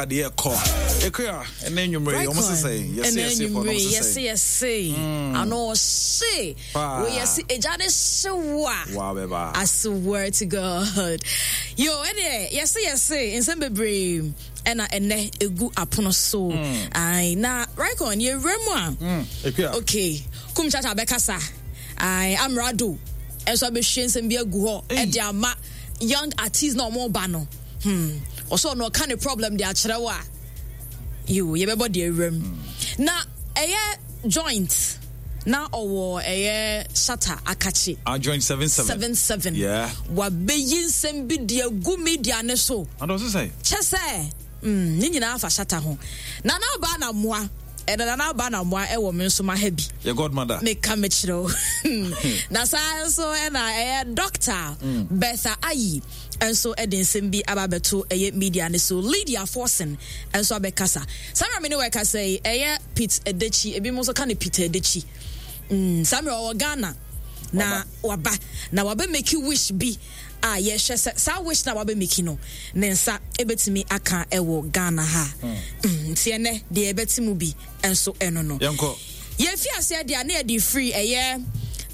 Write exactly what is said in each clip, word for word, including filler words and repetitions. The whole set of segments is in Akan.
Adeɛ kɔ ekua ɛnɛ nwumere yi ɔmo sisɛ yɛse yɛse fɔ ɔmo sisɛ yɛse yɛse mm. ano ɔhye wo yɛse egya ne hye wo a wa bɛba. I swear to God, yo, ɛdeɛ yɛse yɛse nsɛm bebree ɛna ɛnɛ egu apono so mm. Ayi na Rikon yɛwura mu a mm. Ekua okay Kumchacha bɛkasa, ayi Amerado ɛnso abɛhwie nsɛm bi agu hɔ ɛde ama young artist na ɔmo ba no. hmm ɔsɛ ɔno ɔka ne problem de akyerɛ wo a, yo, yɛbɛbɔ deɛ awura mu hmm. Na ɛyɛ Joint na ɔwɔ ɛyɛ Shatta Akakye. Ah, Joint seven seven. Seven seven. Yeah. Wabɛyi nsɛm bi de agu media ne so. Ɔdɔ sisɛ. Kyɛ sɛ mm, ne nyinaa fa Shatta ho. Nana aba na mmoa ɛna Nana aba na mmoa ɛwɔ me nso ma ha bi. Yɛ godmother. Meka mekyerɛ wo. Na saa nso ɛna ɛyɛ Doctor mm. Bertha Ayi nso de nsɛm bi aba abɛto ɛyɛ media no so. Lydia Forson nso abɛkasa. Saa mmerɛ me ne wɔkasa yi, ɛyɛ Pete Edochie, ebinom nso ka no Peter Edochie. Mm, saa mmerɛ ɔwɔ Ghana na waba na wabɛ make wish bi a yɛhwɛ sɛ saa wish na wabɛ make no ne nsa ebɛtumi aka ɛwɔ Ghana ha. Mm. Mm, nti ɛnɛ deɛ yɛbɛte mu bi nso ɛno no. Yɛnkɔ. Yɛfi aseɛ deɛ a na yɛde firi ɛyɛ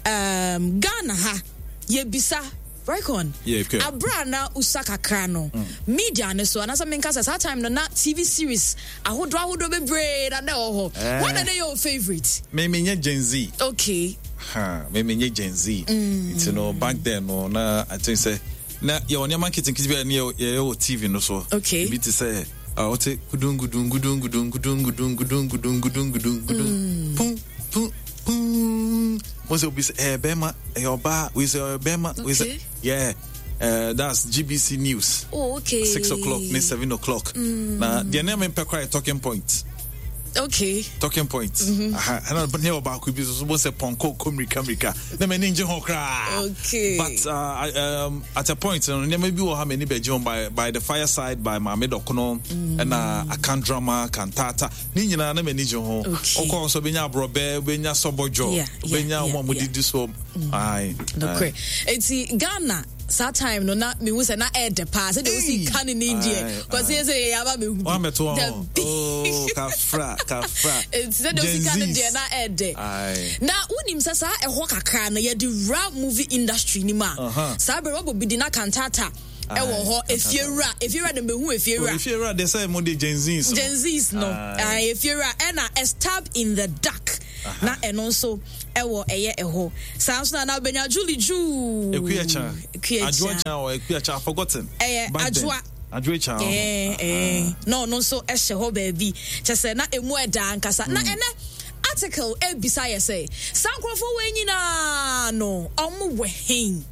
um, Ghana ha yɛbisa Raycon, Yeah, okay. Abra na usa kakra no, mm. media ne so, anaasɛ menka sɛ saa time no na T V series ahodoɔ ahodoɔ bebree na na ɛwɔ hɔ. Eh. What are your favorite? Me me nye Gen Z. Okay. Ha, me me nye Gen Z. Mm. Nti no back then no na I think sɛ na yɛwɔ nneɛma nketenkete bi a ne yɛyɛ wɔ T V no so. Okay. Ebi te sɛ ɔte gudun gudun gudun gudun gudun gudun gudun gudun gudun gudun gudun pum pum pum mo sɛ obi sɛ ɛyɛ bɛrima, ɛyɛ ɔbaa, wei sɛ ɛyɛ bɛrima, wei sɛ yeah. Uh, that's G B C News. Oh, okay. Six o'clock, ne seven o'clock. Mm. Na deɛ ne mempɛ koraa yɛ Talking Point. Okay. Talking Point. Mm-hmm. Aha. Ɛna ne ɔbaako bi so so bo sɛ pɔnkɔ kɔ mirika mirika. Na m'ani ngye ho koraa. Okay. But uh, I, um, at a point, no, nneɛma bi wɔ ha m'ani bɛgye ho by by the Fireside by Maame Dɔkono mm. ɛna Akan drama Kantata ne nyinaa na m'ani gye ho. Okay. Ɔkɔ nso bɛnya aborɔbɛ, bɛnya sɔbɔdwɔ, Yeah, yeah, bɛnya yeah, wɔn a yeah. wɔdidi so. Aye. Nokorɛ. Eti Ghana saa time no na mehu sɛ na ɛɛdɛ paa sɛdeɛ wosi ka ne ne deɛ Aye, kɔsi yɛ sɛ yɛyɛ aba mehu bi. Wɔn abɛto wɔn. Dabi. Oh, kafra, kafra. Eti sɛdeɛ wosi ka ne Gen deɛ Zs. na ɛɛdɛ. Aye. Na wonim sɛ saa ɛhɔ kakra no yɛde wura movie industry ni mu a Uh-huh. saa bere wɔbɔ bi di na Kantata ɛwɔ hɔ, Efiewura, Efiewura de mehu Efiewura. Efiewura de sɛ mo de Gen Zs no. Gen Zs no. Aye. Aye, Efiewura ɛna A Stab in the Dark na ɛno nso ɛwɔ ɛyɛ ɛhɔ saa nso na na wobɛnya Julie Juu. Ekuyacha. Ekuyacha. Adwoa Cha or Ekuyacha, I've forgotten. Ɛyɛ Back then. Adwoa. Adwoa Cha. Eh, eh. Na ɔno nso ɛhyɛ hɔ baabi kyɛ sɛ na emu ɛda ankasa. Na ɛnɛ article ebisa yɛ sɛ saa nkurɔfoɔ wei nyinaa no ɔmo wɔ hen?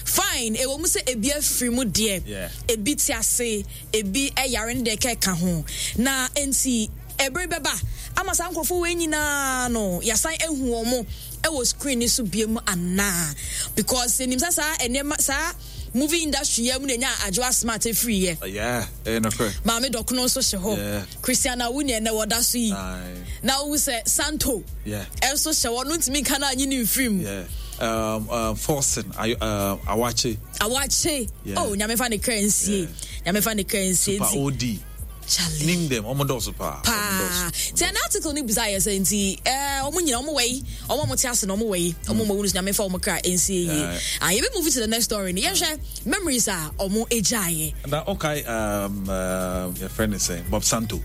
Fine, ɛwɔ mu sɛ ebi afiri mu deɛ, Yeah. ebi te ase, ebi ɛyare no deɛ kɛka ho na nti ɛbere bɛba ama saa nkurɔfoɔ wei nyinaa no yɛasan ehu wɔn ɛwɔ screen ni so biem anaa? Because enim sɛ saa nneɛma saa movie industry yɛ mu na enya Adwoa Smart efiri yɛ. Yeah, eh, no correct. Maame Dɔkono nso hyɛ hɔ. Yeah. Christiana Awuni ɛnɛ wɔda so yi. Aye. Na wohu sɛ Santo Yeah. ɛnso hyɛ hɔ no ntumi nka no anyi ne mfiri mu. Yeah. Um, um, Forson, I, uh, Awache, Awakye. Yeah. Oh, Nyame fa ne kra nsie. Nyame fa ne kra nsie. Super nti O D. Charlie. Name them. Omo dɔɔso paa. Paa nti ɛna article no bisa yɛ sɛ nti ɛɛ ɔmo nyina ɔmo wɔ yi, ɔmo a ɔmo te ase na ɔmo wɔ yi, ɔmo mo wunu so Nyame fa ɔmo kra nsie yie. Yeah. Ah, yɛbɛ move to the next story no, yɛhwɛ memories a ɔmo egyaeɛ. Na okay, um, uh, your friend is saying Bob Santo.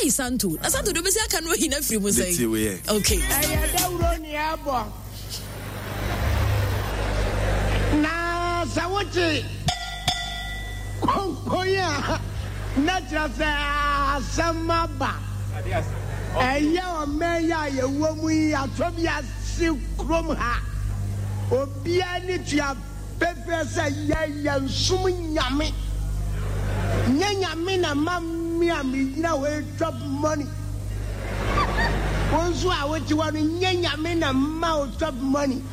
Ayi Santo na Santo de obesi aka no ayi na firi mu The sɛ T W A. Okay. Ɛyɛ dawuro ne ɛbɔ na sɛ wote konkon a na kyerɛ sɛ asɛm aba. Ɛyɛ ɔman yi a yɛwɔ mu yi atɔ bi ase kurom ha, obiara ne tua pɛfɛ sɛ yɛyɛ nsom Nyame. Nyɛ Nyame na ma me a megyina hɔ yi chop money. Wo nso a wote hɔ no, nyɛ Nyame na ma wo chop money.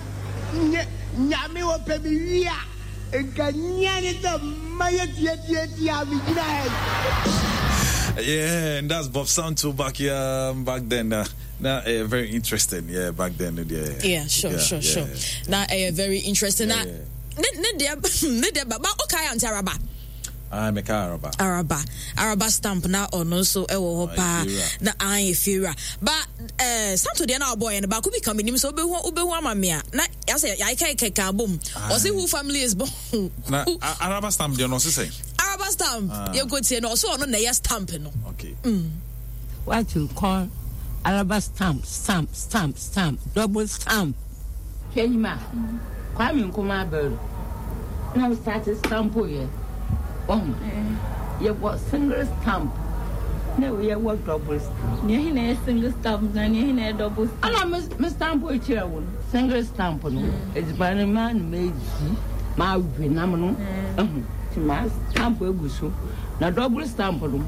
Nyɛ Nyame wɔpɛ me wie a nka nyɛ ne sɛ ma yɛ tiatiatia a megyina ha yi. Yeah, and that's Bob Santo back here, um, back then. Uh, now, uh, very interesting. Yeah, back then. Yeah, Yeah, sure, yeah, sure, yeah. sure. Na ɛyɛ very interesting. Na Yeah, ne ne deɛ ne deɛ ba ba okay, Auntie Araba. Ah, meka Araba. Araba. Araba stamp na ɔno nso ɛwɔ hɔ paa. Na an efiewura. Ba eh Santo deɛ na ɔbɔ yɛ no baako bi ka menim sɛ wobɛhu wobɛhu ama me a na yɛasɛ yɛayɛka kɛkɛ abom. Ɔse who family is born. Na Araba stamp deɛ no ɔse sɛ. Araba stamp. Yɛnkɔ tie no ɔse ɔno na ɛyɛ stamp no. Okay. Mm. What you call Araba stamp, stamp, stamp, stamp, double stamp. Hwɛ nyima, Kwame Nkrumah abɛro na we start stamp yɛ. Wahu? Yɛwɔ single stamp na yɛwɔ double stamp. Nea ɛhe na ɛyɛ single stamp na nea ɛhe na ɛyɛ double stamp? Ɛna me me stamp kyerɛ wo no, single stamp no, edziban no maa no medzi, mawe nam no, ehu, nti ma stamp egu so. Na double stamp no,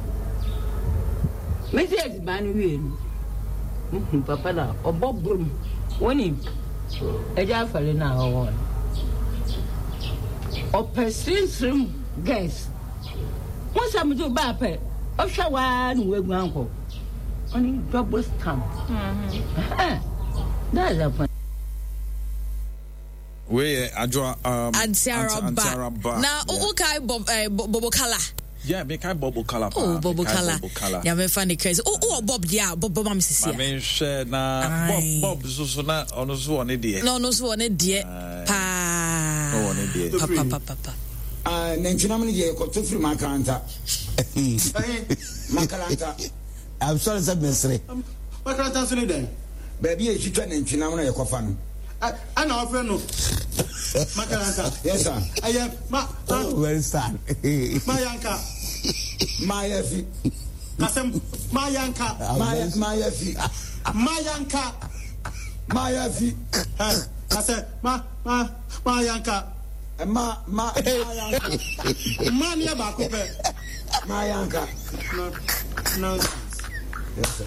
medzi edziban no wie no, muhu papa no a ɔbɔ brom, wonim, agya afɔre no a ɔwɔ no, ɔpɛ srimsrim girls. Wo sɛ medze wo baa pɛ, ɔhwɛ wo ara na woeguan kɔ. Ɔne double stamp. That's the point. Wei yɛ Adwoa um, Auntie Araba. Na wokae Bob eh, Bobo Kala? Yeah, me kai Bobo Kala pa. Oh, Bobo Kala. Bobo Kala. Ya me fa ne crazy. Oh, oh Bob dia, Bob Bob am sisi. Ma me nhwɛ na Bob Bob so so na ɔno so wɔ ne deɛ. Na ɔno so wɔ ne deɛ paa. Ɔwɔ ne deɛ. Pa pa pa pa pa. Ah, nantwinam no deɛ yɛkɔtɔ firi Makaranta. Makaranta. I'm sorry sɛ mesere. Makaranta nso ne dɛn? Baabi a yɛtwitwa nantwinam no yɛkɔfa no. Ɛna wɔfrɛ no Makaranta. Yes sir. Ɛyɛ ma. Oh, very sad. Mayanka. Mayafi. Kasɛm Mayanka. Maya Mayafi. Mayanka. Mayafi. Ɛ kasɛ ma ma Mayanka. Ma ma Mayanka. Ma ni yɛ baako pɛ. Mayanka. No nonsense. Yes sir.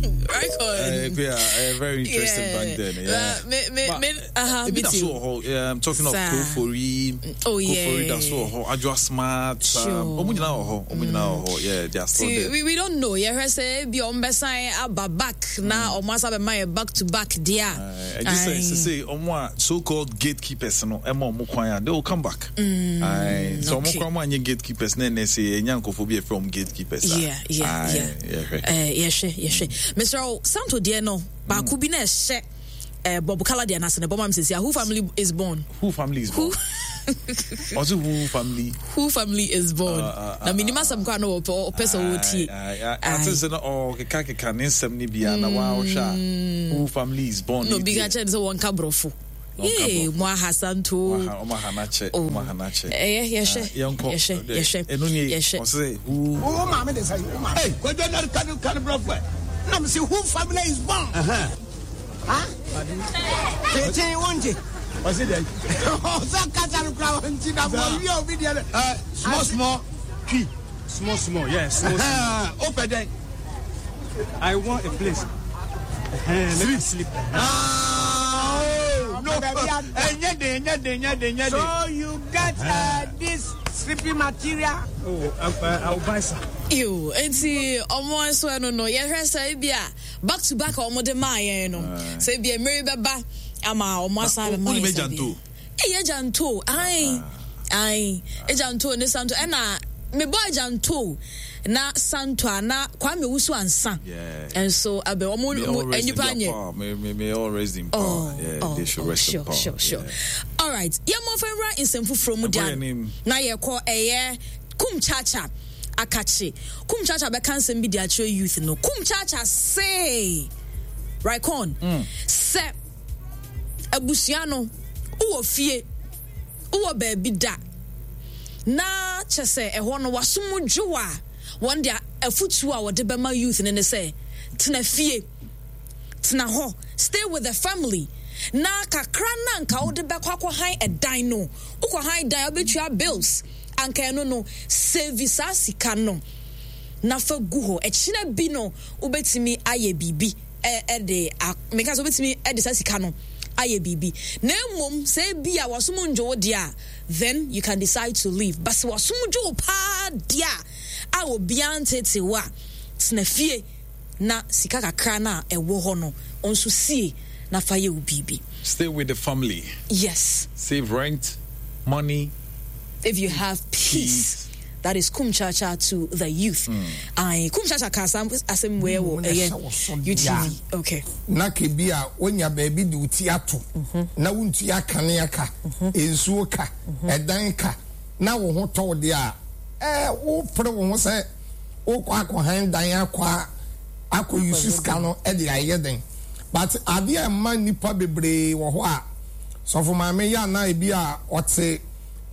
Record. Uh, yeah, uh, very interesting yeah. back then. Yeah. Uh, me, me, me, uh-huh, me too. Yeah, I'm talking of Kofori. Oh, yeah. Kofori, that's all. Adwoa Smart. Sure. Um, mm. Yeah, they are still See, there. We, we don't know. Yeah, say be on besan aba back na omo asa be my back to back there. I just say, say, omo so-called gatekeepers no, emo omo kwan, they will come back. Mm, Aye. So okay. omo kwan gatekeepers na na say enya nkofo bi from gatekeepers. Yeah, yeah, yeah. Yeah, Eh, yeah, yeah, yeah. Mister Santo deɛ no baako bi na ɛhyɛ eh, Bob Kala deɛ n'ase ne bɔma mi sisi who family is born. Who family is born? Also who family? Who family is born? Uh, uh, na minima asɛm kora na ɔpɛ sɛ ɔtie. Ate sɛ no ɔkeka keka ne nsɛm ne bia na wa ɔhwɛ a who family is born. Na obi ka kyerɛ ne sɛ wɔnka borɔfo. Yee, mo aha Santo. Ɔmo aha n'akyɛ, ɔmo aha n'akyɛ. Ɛyɛ yɛhwɛ. Yɛnkɔ. Yɛhwɛ. Ɛno nie yɛhwɛ. Ɔsɛ who. Wo maame de sɛ wo maame. Hey, kwadwo na kanu kanu brɔfo. Na me say who family is born? Ha? Tete wonte. Ɔsi dɛ. Ɔsɛ kasa no kura wɔn ti na mo wi obi deɛ no. Small small tree. Small small, yes. Small small. Open then. I want a place. Let me sleep. Ah, oh, no. Enye de, enye de, enye de, enye de. So you get uh, this sleeping material? Oh, I, I'll buy some. Ew, enti ọmọ nso ẹnu no yɛhwɛ sɛ ebi a back to back a ɔmo de maa yɛn no sɛ ebi a mmiri bɛba ama ɔmo asan bɛma yɛn sɛ bi ɛyɛ gyanto ayi ayi egyanto ne santo ɛna mebɔ egyanto na santo a na Kwame Owusu ansa nso abɛ ɔmo nipa nyɛ. May may may all rest in power. Oh, yeah, oh, they should oh, rest sure, in power. Sure, sure. Yeah. All right. Yɛn mo fɛn wura nsɛm foforɔ mu Ɛbɔ yɛn dan anim. na yɛkɔ ɛyɛ Kumchacha akakye. Kumchacha bɛka nsɛm bi de akyerɛ youth no. Kumchacha say, Raycon, sɛ abusua no wowɔ fie, wowɔ baabi da, na kyɛ sɛ ɛhɔ no wasom dwo a wɔn de afutuo a wɔde bɛma youth no ne sɛ tena fie, tena hɔ, stay with the family. Na kakra na nka wode bɛkɔ akɔhan ɛdan no, wokɔhan dan wobɛtua bills, anka ɛno no save saa sika no na fa gu hɔ. Ɛkyina bi no wobɛtumi ayɛ biribi ɛde meka sɛ wobɛtumi ɛde saa sika no ayɛ biribi. Na mmom sɛ ebi a wasom ndwo wo deɛ a, then you can decide to leave. But sɛ wasom dwo wo paa deɛ a, a obiara ntete wo a, tena fie na sika kakra na ɛwɔ hɔ no ɔnso sie na fa yɛ wo biribi. Stay with the family. Yes. Save rent, money, If you have peace. peace. That is Kumchacha to the youth. Mm. Aye, Kumchacha ka asem we wo eye U T V. Okay. Na kebi a wonya baabi de wo ti ato na wontua kanea ka, nsuo ka, ɛdan ka, na wo ho tɔ wo deɛ a, ɛɛ wopere wo ho sɛ wokɔ akɔhan dan akɔ a akɔ use sika no de ayɛ den. But adeɛ a ɛma nnipa bebree wɔ hɔ a, sɔfo maame yɛ anaa ebi a ɔte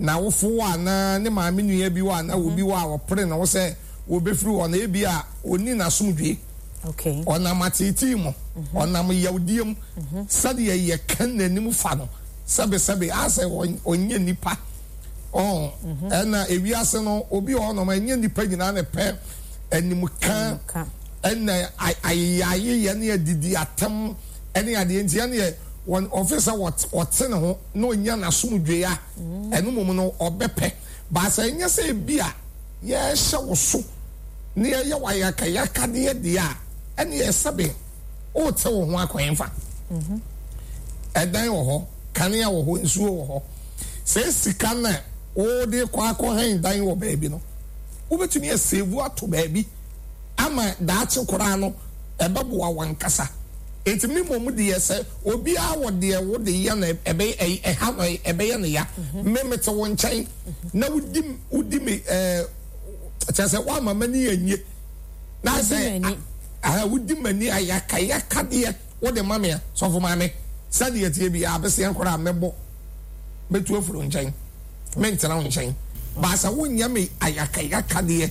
n'awofo wɔ anaa ne maame nua bi wɔ anaa obi wɔ a ɔpere ne ho sɛ wɔbɛfiri hɔ no, ebi a ɔnni n'asomdwoe. Ɔnam ateetee mu, ɔnam yawdie mu, sɛdeɛ yɛka n'anim fa no, sɛbesɛbe, asɛ ɔnyɛ nipa. Ɔn, ɛna ewiase no, obi wɔ hɔnom, ɛnyɛ nipa nyinaa na ɛpɛ animka, ɛna ayeyayeyɛ ne adidi atɛm ɛne adeɛ nti ɛneɛ wɔn ɔfe sɛ ɔte ne ho na ɔnya n'asomdwoe a, ɛno mmom no ɔbɛpɛ. Baasa ɛnyɛ sɛ ebi a yɛhyɛ wo so na yɛyɛ wo ayakayakadeɛ deɛ a, ɛneɛ sɛbe wote wo ho akwan fa. Ɛdan wɔ hɔ, kanea wɔ hɔ, nsuo wɔ hɔ. Sɛ sika no a wode kɔ akɔhan dan wɔ baabi no, wobɛtumi asave ato baabi ama daakye koraa no ɛbɛboa wankasa. Nti me mmom deɛ, sɛ obiara wɔ deɛ wode yɛ no ɛbɛyɛ ɛha no ɛbɛyɛ no ya. Me mete wo nkyɛn na wodi wodi me ɛɛ kyerɛ sɛ woama m'ani anye na sɛ aha wodi m'ani ayakayakadeɛ wode ma me a, sɔfo maame, sɛdeɛ tie bi abeseɛ koraa mɛbɔ mɛtu afiri wo nkyɛn, mentena wo nkyɛn. Baasa wonyɛ me ayakayakadeɛ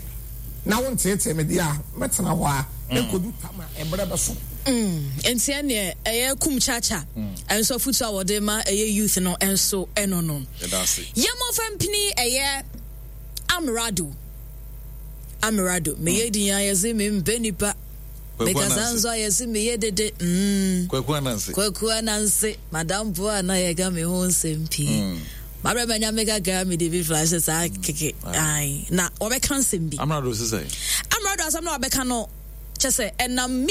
na wonteetee me deɛ a, mɛtena hɔ a ɛkɔdu tam a ɛberɛ bɛso. Nti ɛneɛ ɛyɛ Kumchacha ɛnso afutu a wɔde ma ɛyɛ youth no ɛnso ɛno no yɛmmɔfa mpini ɛyɛ Amerado. Amerado, meyɛ din a yɛse mempɛ nipa, mekasa nso a yɛse meyɛ dede mm. Kwaku Ananse. Kwaku Ananse, madamfo a na yɛka me ho nsɛm pii mm. Mabrɛ manya me kakra mede bi flash saa keke. Ai, na wɔbɛka nsɛm bi. Amerado sesɛ Amerado asɛm na wɔbɛka no kyɛ sɛ ɛnam me